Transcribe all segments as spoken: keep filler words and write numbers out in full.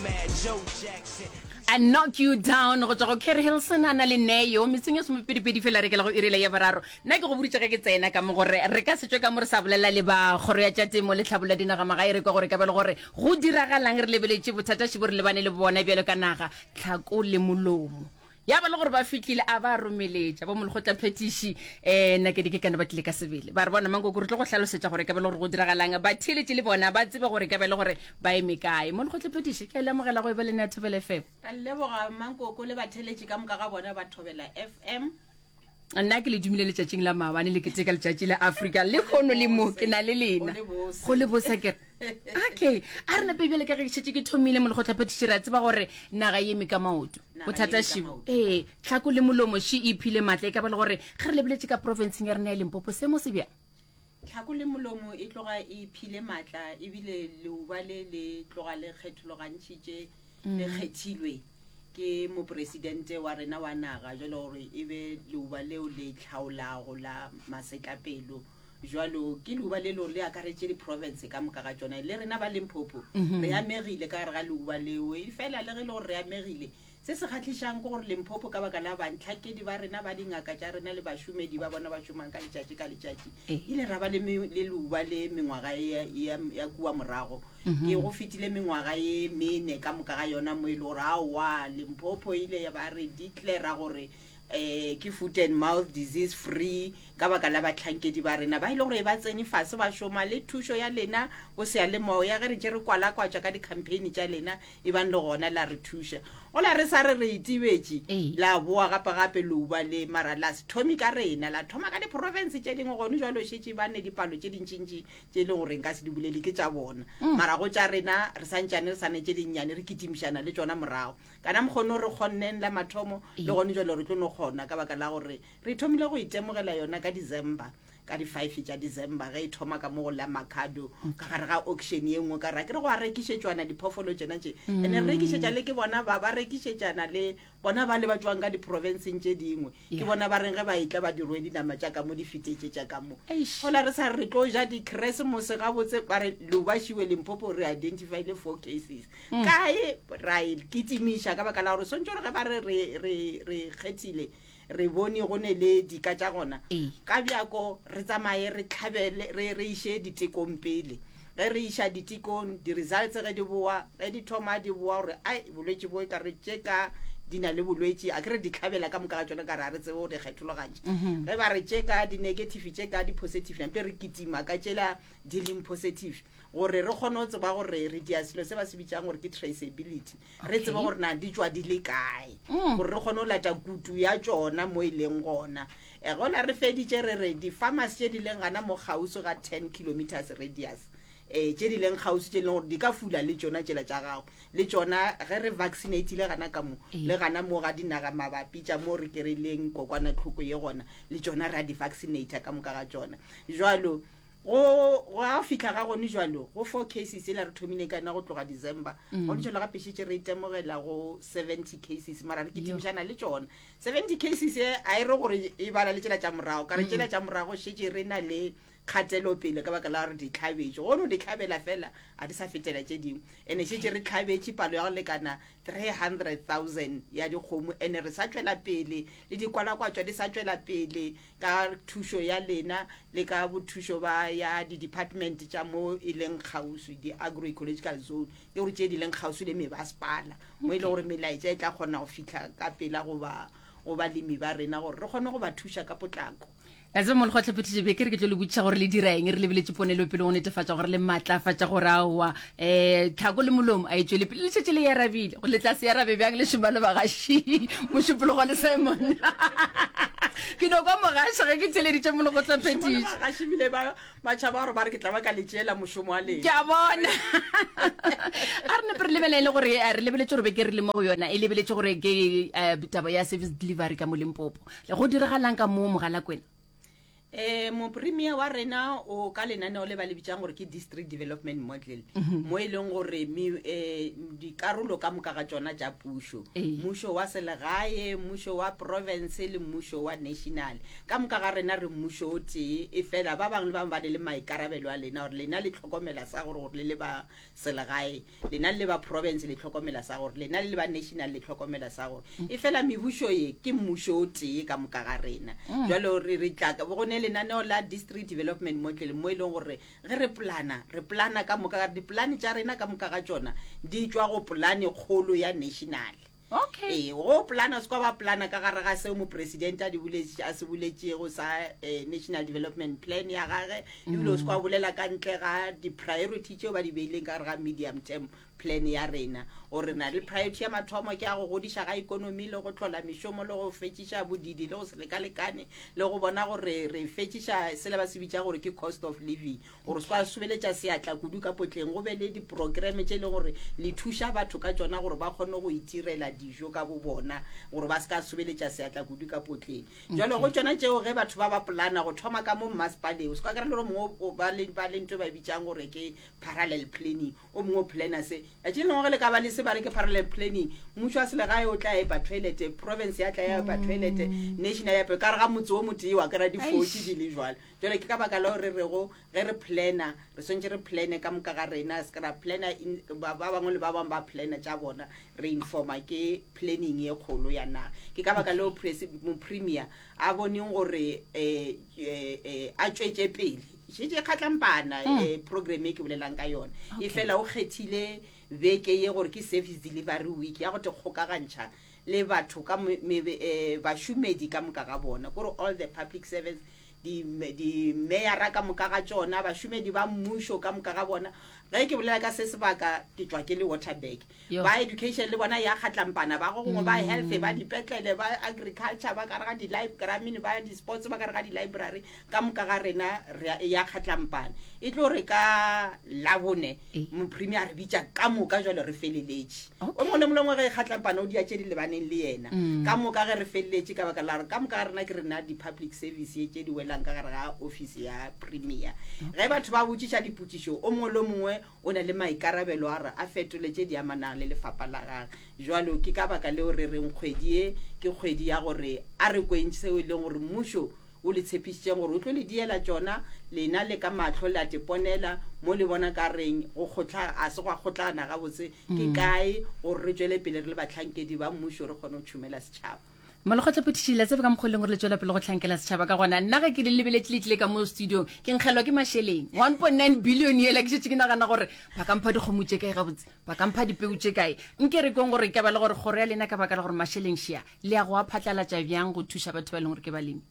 Mad Joe Jackson. I knock you down go tswa go Kerry Hilson a na le Neo metseng ya somepedipedi fela re kela go irela ya boraro. Nna ke go boditše ge ke tsena ka mo gore re ka se tšwe ka mo re sa bolela le ba kgoro ya tša temo le tlhabollo ya dinagamagae, re kwa gore ka ba le gore go diragalang, re lebeletše bothata šibo re lebane le bona bjalo ka naga, tlhako le molomo. Ya ba le gore ba fihlile a ba romeletša bo molekgotlaphethiši um Nakedi ke kana ba tlile ka sebele ba re bona Mankoko re tlo go hlalosetša gore ka ba le gore go diragalang, batheeletši le bona ba tsebe gore ka ba le gore ba eme kae. Molekgotlaphethiši, ke a le amogela go e ba le nna Thobela F M. Ka leboga Mankoko le batheeletši ka moka ga bona ba Thobela F M. Nna ke le dumile letšatšing la maabane le keteka letšatši la Afrika le kgono le mo ke na le lena go le bose ke okay. A re nape bjale ka ge ke šetše ke thomile molekgotlaphethiši, re a tseba gore naga e eme ka maoto, bothata šibo ee tlhako le molomo ši e iphile maatla. E ka ba le gore ge re lebeletše ka provinceng ya rena ya Limpopo seemo se bjang? Tlhako le molomo e tloga e iphile maatla, ebile leuba le le tloga le kgethologantšhitše le kgethilwe ke mopresidente wa rena wa naga jalo gore e be leuba leo le tlhaolago la masetlapelo. Jalo ke leuba le lore le akaretše di-province ka moka ga tšona, le rena ba Limpopo re amegile ka gare ga leuba leo. E fela le ge le gore re amegile, se se kgahlišang ke gore Limpopo ka baka la bantlhakedi ba rena ba dingaka tša rena le bašomedi ba bona ba šomang ka letšatši ka letšatši, ile ra ba le le leuba le mengwaga ya, ya, ya kua morago. Ke go fetile mengwaga ye mene ka moka ga yona mo e le gore aowa Limpopo ile ya ba re declare gore eh ke foot and mouth disease free ka baka la batlhankedi ba rena ba ile gore ba tsene fase ba šoma le thušo ya lena bo seyalemoya ge re tše re kwalakwatša ka di-campaign tša lena e bang le gona la re thuša. Gola re sa re re itibetše la boa gape gape leuba le mara la se thome ka rena, la thoma ka di-province tše dingwe. Gone jwalo šetše ba ne dipalo tše dintšintši tše e leng gore nka se di bolele ke tša bona, mara go tša rena re santšane re sa ne tše dinnyane re kitimišana le tšona morago. Kana mokgono re kgonneng la mathomo le gone jwalo re tlo no kgona ka baka la gore re thomile go itemogela yona ka December, ka di-five tša December ge e thoma ka mo go la Makhado ka gare ga auction ye nngwe ka ra ke re go a rekišetšwana diphoofolo tšena tše, ene re rekišetša le ke bona ba ba rekišetšana le bona ba le ba tšwang ka di-provinceng tše dingwe, ke bona ba reng ge ba etla ba di rwele dinama tša ka mo di fetetše tša ka mo. Gola re sa re tlo ja di-Christmas gabotse ba re leuba šiwe Limpopo re identifyle four cases kae ra e kitimiša ka baka la gore swantse gore ge ba re re re re kgethile re bone go ne le dika tša gona ka bjako re tsamaye re tlhabele re re iše ditekong pele. Ge re iša ditekong di-results ge di boa, ge di thoma di boa gore ai bolwetši bo e ka re tše ka di na le bolwetši, a ke re di tlhabela ka moka ga tšona ka re a re tsebe go di kgethologantšha. Ge ba re tše ka di-negative tše ka di-positive nampe re kitima ka tšela di leng positive gore re kgone go tseba gore re dia selo se ba se bitsang gore ke traceability, re tsebe gore na di tšwa di le kae, gore re kgone go lata kutu ya tšona mo e leng gona. E gola re feditše re re di-farmers tše di leng gana mo kgauswi ga ten kilometers radius, eh tše di leng kgauswi tše leng gore di ka fula le tšona tšela tša gago le tšona ge re vaccinatile gana ka mo le gana mo ga dinaga mabapi tša mo re kereileng kokwanatlhoko ye gona le tšona ra di vaccinata ka moka ga tšona. Jwalo go go a fihla ga gone jwalo go four cases ela re thomile ka yona go tloga December, gone jwalo gape šetše re itemogela go seventy cases, mara re kitimišana le tšona seventy cases e a e re gore e bala le tšela tša morago ka re tšela tša morago šetše re na le kgatelopele ka baka la gore di tlhabetše, gono di tlhabela fela a di sa fetela tše dingwe, ene šetše re tlhabetše palo ya go lekana three hundred thousand ya dikgomo, ene re sa tšwela pele le dikwalakwatšwa di sa tšwela pele ka thušo ya lena le ka bothušo ba ya di-department tša mo e leng kgauswi di-agroecological zone, ke gore tše di leng kgauswi le mebasepala mo e leng gore melaetša e tla kgona go fihla ka pela go ba go balemi ba rena gore re kgone go ba thuša ka potlako. A tseba molekgotlaphethiši be ke re ke tlo le botšiša gore le dira eng, re lebeletše ponelopele go netefatša gore le maatlafatša gore aowa um tlhako le molomo a e tšwele pele, le šetše le e arabile go le tla se arabe bjang le šoma le bagaši Mošupologo le Simon. Ke no kwa mogaši ge ke theleditše molekgotlaphethiši. Bagaši bile ba ba tšhaba gore ba re ke tla ba ka le tšeela mošomo wa lena. Ke a bona. A re nepe re lebelele gore re lebeletše gore be ke re le mo go yona e lebeletše gore ke taba ya service delivery ka mo Limpopo. Go diragalang ka mo Mogalakwena? Um mopremier wa rena o ka lenaneo le ba le bitsang gore ke district development model, mo e leng gore um dikarolo ka moka ga tsona tša pušo, mmušo wa selegae, mmušo wa province le mmušo wa national, ka moka ga rena re mmušo o tee. E fela ba bangwe le bangwe ba ne le maikarabelo a lena, gore lena le tlhokomela sa gore gore le le ba selegae, lena le ba province le tlhokomela sa gore, lena le ba national le tlhokomela sa gore. E fela mebušo ye ke mmušo o tee ka moka ga rena. Jalo re re tla go ne lenaneo la district development model, mo e leng gore ge re plana, re plana ka moka, dipolane tša rena ka moka ga tšona di tšwa go polane kgolo ya national. Okay. Ee, go plana se kwa ba plana ka gare ga seo mopresidente a di boletše, a se boletšego sa eh, national development plan ya gage, ebile o se kwa bolela ka ntle ga di-priority tšeo ba di beileng ka gare ga medium term plan ya rena, gore re na le priority ya mathomo ke ya go godiša ga ikonomi le go hlola mešomo le go fetšiša bodidi le go se lekalekane le go bona gore re fetšiša sele ba se bitša gore ke cost of living, gore se kwa sobeletša seatla kudu ka potleng, go be le diprograme tše e leng gore le thuša batho ka tšona gore ba kgone go itirela dijo ka bo bona, gore ba se ka sobeletša seatla kudu ka potleng. Jalo go tšona tšeo ge batho ba ba polana go thoma ka mo mmasepaleng, o se kwa kry le gore mongwe ba le ba le ntho e ba bitsang gore ke parallel planning, o mongwe o plana se tšatši le lengwe ge le ka ba le se ba re ke parallel planning, mmušo wa selegae o tla epa toilet, province ya tla ya epa toilet, national ya epa ka re ga motse o motee wa kry-a di-forty di le jwalo. Jale ke ka baka leo re rego ge re plana re swantse re plane ka moka ga rena, se ka ra plana ba bangwe le ba bangwe ba plana tša bona, re informa ke planning ye kgolo ya naga. Ke ka baka leo mopremier a boneng gore um a tšwetše pele šetše kgatlampana um program e ke bolelang ka yona. E fela o kgethile beke ye gore ke service delivery week ya go te kgokagantšha le batho ka bašomedi ka moka ga bona, kore all the public servants, dimeyara ka moka ga tšona, bašomedi ba mmušo ka moka ga bona. Ge ke bolela ka se sebaka ke tšwa ke le Waterberg, ba education le bona ya kgatlampana, ba go gongwe ba health, ba dipetlele, ba agriculture, ba kare ga di-library, ba di-sports, ba kare ga di-library, ka moka ga rena ya kgatlampana. E tlo re ka Labone mopremier a re bitša ka moka, jalo re feleletše o mongwe le mongwe ge e kgatlampana o dia tše di lebaneng le yena ka moka. Ge re feleletše, ka baka la gore ka moka ga rena ke rena di-public service tše di welang ka gare ga office ya premier, ge batho ba botšiša dipotšišo, o mongwe le mongwe o na le maikarabelo a re a fetole tše di amanang le lefapha la gage. Jalo ke ka baka leo re reng kgwedi ye ke kgwedi ya gore a re kweng seo e leng gore mmušo o le tshepišitšeng gore o tlo le diela tšona, lena le ka mahlo le a teponela mo le bona ka reng go kgotla a se gwa kgotlana gabotse ke kae, gore re tšwele pele re le batlhankedi ba mmušo re kgone go tšhomela setšhaba. Molekgotla phetiši, la tsebe ka mokgwa e leng gore le tswela pele go tlhankela setšhaba ka gona. Nna ge ke le lebeletse le tlile ka mo studiong, ke nkgelwa ke mašeleng one point nine billion yela, ke šetse ke nagana gore ba ka mpha dikgomo tše kae gabotse, ba ka mpha dipeu tše kae. Nke re kong gore ka ba le gore kgoro ya lena ka baka la gore mašeleng šia le ya go a phatlalatša bjang go thuša batho ba e leng gore ke balemi?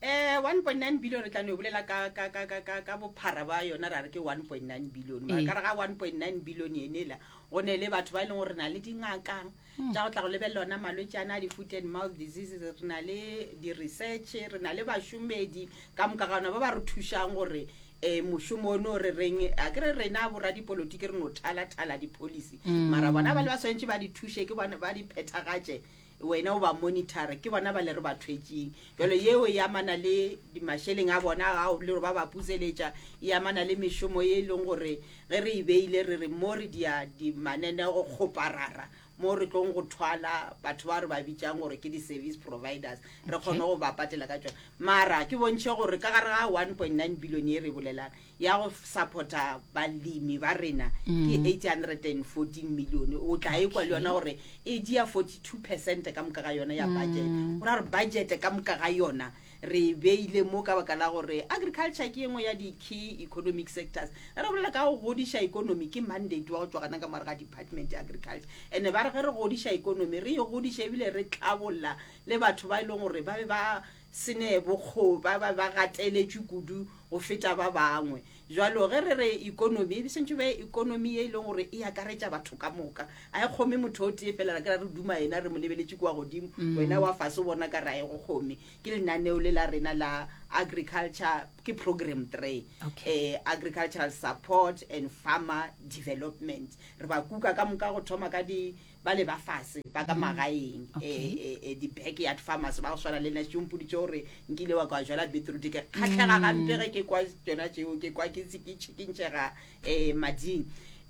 Eh one point nine billion re tla no bolela ka ka ka ka ka ka bophara ba yona, ra re ke one point nine billion. Mara ka re ga one point nine billion yenela go ne le batho ba e leng gore re na le dingaka tša go tla go lebelela ona malwetse ana a di-foot and mouth diseases, re na le di-research, re na le bašomedi ka moka ga ona ba ba re thušang gore um mošomo ono re reng a ke re rena boradipolotiki re no thala-thala di-policy, mara bona ba le ba swantse ba di thuše, ke bona ba di phethagatše, wena o ba monitor, ke bona ba le re ba thwetšeng. Jalo yeo e amana le mašeleng a bona ao le gore ba ba puseletša, e amana le mešomo ye e leng gore ge re e beile re re mo re dia dimananeo kgoparara mo re tlong go thwala batho ba re ba bitsang gore ke di-service providers, re kgone go ba patela ka tsona. Mara ke bontšhe gore ka gare ga one point nine billion ye re bolelang ya go supporta balemi ba rena ke eight hundred and fourteen million. O tla e kwa le yona gore e dia forty two percent ka moka ga yona ya budget, go ra gore budget ka moka ga yona re beile mo ka baka la gore agriculture ke engwe ya di-key economic sectors. Re bolela ka go godiša economy, ke mandate wa go tšwa gana ka morago ga department ya agriculture, and ba re ge re godiša economy re e godiša ebile re tlhabolla le batho ba e leng gore ba be ba sene bokgo, ba ba ba gateletšwe kudu go feta ba bangwe. Jalo ge re re economy e sentse be economy e leng gore e akaretša batho ka moka, a e kgome motho o tee fela, re kry re duma yena re mo lebeletše kua godimo, wena wa fase o bona ka re a e go kgome. Ke lenaneo le la rena la Agriculture ke program three. Okay. Eh, agricultural support and farmer development. Re ba kuka ka moka go thoma ka di ba le ba fase ba ka magaeng, Okay. eh, eh, eh, di-backyard farmers ba go swana le nna šompoditše gore nkile wa ka jala beetroot, ke kgatlhega gampe ge ke kwa tsona tšeo, ke kwa ke tšikintšega um mading.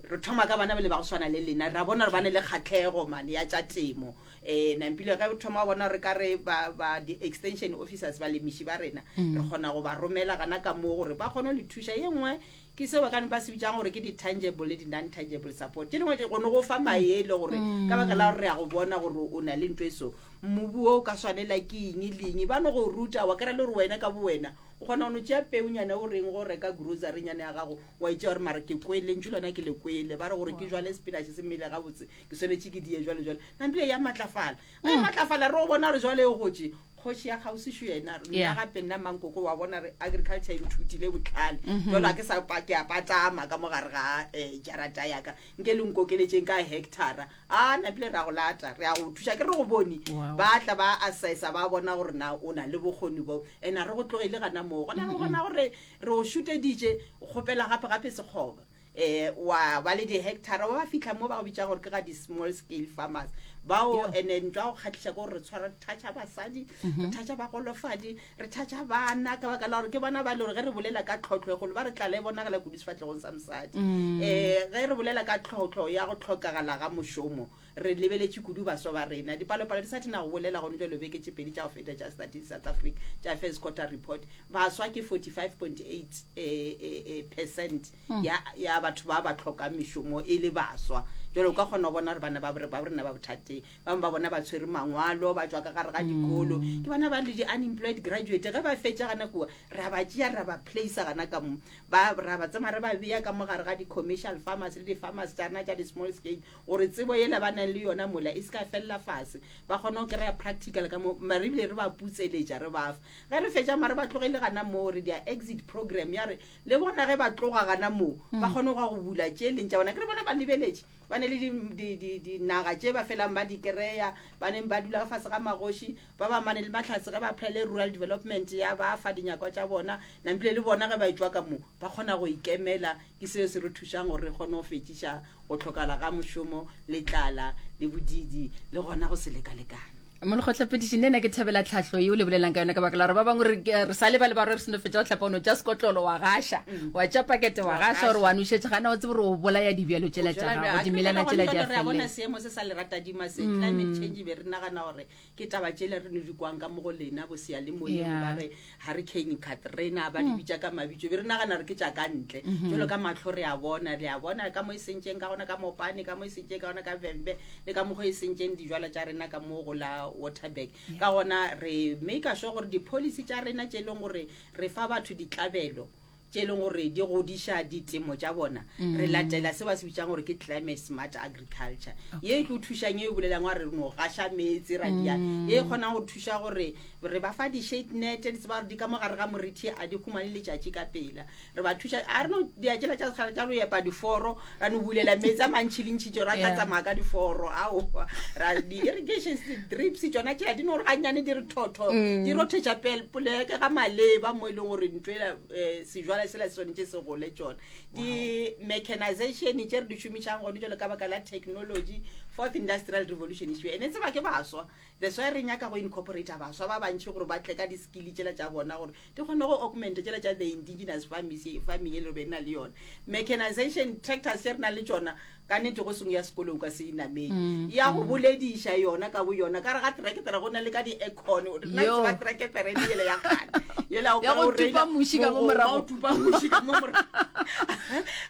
Re thoma ka bana ba le ba go swana le lena, ra bona gore ba ne le kgatlhego mane ya tša temo. Um nampile ge o thoma bona re ka re ba ba di-extension officers, balemiši ba rena, re kgona go ba romela gana ka moo gore ba kgone go le thuša. Ye nngwe ke seo ba ka ba se bitsang gore ke di-tangible le di-non-tangible support. Tše dingwe kgone go fa maele gore ka baka la gore re ya go bona gore o na le ntho e so, mobu o ka swanela ke eng le eng, ba no go ruta wa kry-a le gore wena ka bo wena o kgona go no tšea peunyana o reng go reka grocerynyana ya gago, wa itšea gore mara ke kwele ntšu lona ke le kwele ba re gore ke jwale spinach se mmele gabotse, ke swanetše ke die jwale jwale. Nampile ya matlafala, ge e matlafala re go bona gore jwale e gotse kgoši ya kgauswišo yena nna Yeah. gape nna mankoko wa bona re agriculture e nthutile botlhale, jalo a ke sa pa- ke a patama ka mogare ga um jarata yaka nke le nkokeletseng ka hectara a napile re a go lata, re a go thuša, ke re go bone. Wow. Ba tla ba assessa, ba bona gore na o na le bokgoni bo, and a re go tlogele gana moo gona re bona gore re o šuteditše o kgopela gape gape sekgoba um wa ba le di-hectara wa ba fitlha mo ba go bitsa gore ke ga di-small scale farmers bao. Yeah. And then ntwa go kgatlhiša ke gore re tshwara, re toucha basadi, re toucha bagolofadi, re toucha bana, ka baka la gore ke bona ba le gore ge re bolela ka tlhotlho e golo ba re tlala e bonagala kudu sefatlhegong sa mosadi. um ge re bolela ka tlhotlho ya go tlhokagala ga mošomo, re lebeletše kudu baswa ba rena. Dipalopalo di sa thena go bolela gone jalo, beke tše pedi tša go feta tša Statistics South Africa tša first quarter report, baswa ke forty-five point eight percent ya ya batho ba ba tlhokang mešomo e le baswa. Jalo o ka kgona go bona gore bana ba ba rena ba bothateng. Bangwe ba bona ba tshwere mangwalo, ba tswa ka gare ga dikolo, ke bana ba le di-unemployed graduate. Ge ba fetša gana kua, ra ba tšea, ra ba placea gana ka mo, ba ra ba tsema re ba beya ka mo gare ga di-commercial farmers le di-farmers tša rena tša di-small scale, gore tsebo yela ba nang le yona mola e se ka felela fase, ba kgone go kry-a practical ka mo. Mare ebile re ba putseletša, re ba fa ge re fetša, mare ba tlogele gana moo, re dia exit program ya re le bona ge ba tloga gana moo ba kgone go ya go bula tše leng tša bona. Ke re bona ba lebeletše ba ne le di- di- di- dinaga tše ba felang ba di kry-a, ba neng ba dula ka fase ga magoši ba ba mane le mahlatse ge ba applyele rural development ya ba fa dinyakwa tša bona. Nampile le bona ge ba etswa ka mo ba kgona go ikemela. Ke seo se re thušang gore re kgone go fetšiša go tlhokala ga mošomo le tlala le bodidi le gona go se lekalekane. Molekgotlapediši, nne nna ke thabela tlhahlo yeo le bolelang ka yona, ka baka la gore ba bangwe re re sa le ba le ba re re seno fetša go tlhapa, o no tša sekotlolo wa gaša, wa tša pakete wa gaša gore wa nošetše, gana o tsebe gore o bolaya dibjalo tšela tša gago, dimelana tšela di a re a bona felela. Seemo se sa leratadima se, climate change, be re nagana gore ke taba tšele re no di kwang ka mo go lena bo seyalemoyeng, Yeah. ba re Hurricane Katrina, ba di bitša ka mabitso, be re nagana re ke tša ka ntle. Jalo ka matlho re a bona, re a bona ka mo e sentšeng ka gona ka Mopane, ka mo e sentšeng ka gona ka Vhembe, le ka mokgwa e sentšeng dijwalo tša rena ka mo go la Waterberg. Ka gona re make sure gore di-policy tša rena tše e leng gore re fa batho ditlabelo tše e leng gore di godiša ditemo tša bona, re latela se ba se bitsang gore ke climate smart agriculture, ye e tlo thušang ye e bolelang wa re no gaša meetse ra dia, ye e kgonang go thuša gore re ba fa di-shade net, di tseba gore di ka mo gare ga morithi a di humane letšatši ka pela. Re ba thuša a re no dia tšela tša sekgale tša go epa diforo, ra no bulela meetse a mantšhi le ntšhitše ra tla Yeah. tsamaya ka diforo. Aowa, ra di-irrigation drips tšona tšela di no gore gannyane di re thotho di rothetša pel- poleke ga maleba mo e leng gore ntho ela um sejwala sela se swanetše se gole. Tšona di-mechanization tše re di šomišang gone jalo ka baka la technology, fourth industrial revolution issue, ene tseba ke baswa. That's why re nyaka go incorporata baswa ba bantšhi gore ba tle ka di-skill tšela tša bona gore di kgone go augment tšela tša the indigenous farming farming e le gore be na le yona. Mechanization tractors tše re nang le tšona, ka nnete go sengwe ya sekolong ka se inamele ya go bolediša yona ka bo yona ka re ga tractor go na le ka di-aircon. Nna Yo. tseba tractor e le yela ya kgale yela o Ya ka go o reila tupa muši ka mo mogoma, morago. o tupa muši ka mo morago.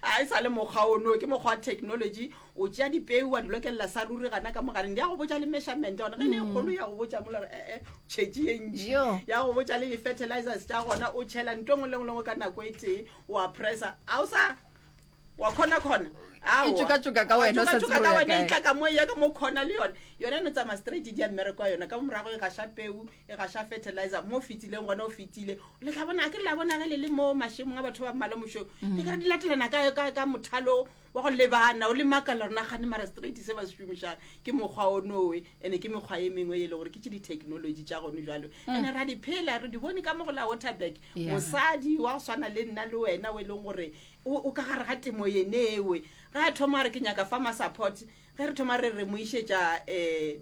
A e sa le mokgwa ono, ke mokgwa wa technology. O tšea dipeu wa di lokelela sa ruri gana ka mogareng, di ya go botša le measurement gona ge le e kgolo, ya go botša mola gore ee tšhetše ye ntši, Yo. ya go botša le di-fertilizers tša gona. O tšhela ntho engwe le ngwe le ngwe ka nako e tee, wa pressa, a o sa wa kgona-kgona. E tšokatšoka ka wena, o sa tsebe ka o ya wena, e kae. tla ka mo ya ka mo khona le yone. Yone e no tsamaya straight, di ya mmereko wa yona ka mo morago, e gaša peu, e gaša fertilizer mo o fetileng gona o fetile. Le tla bona, a ke re la bona ge le le mo mašemong a batho ba mmala mošong, le kare di latelana ka, ka, ka mothalo Wa go lebana o le makala gore nagane mara straight se ba se šomišang ke mokgwa o nowe, ande ke mekgwa ye mengwe e le gore ke tše di-technology tša gone jalo, ande ra di phela, re di bone ka mo go la Waterberg. Yeah. Mosadi wa go swana le nna le wena o e leng gore o o ka gare ga temo yenewe, ge a thoma re ke nyaka farmer support, ge re thoma re re mo išetša um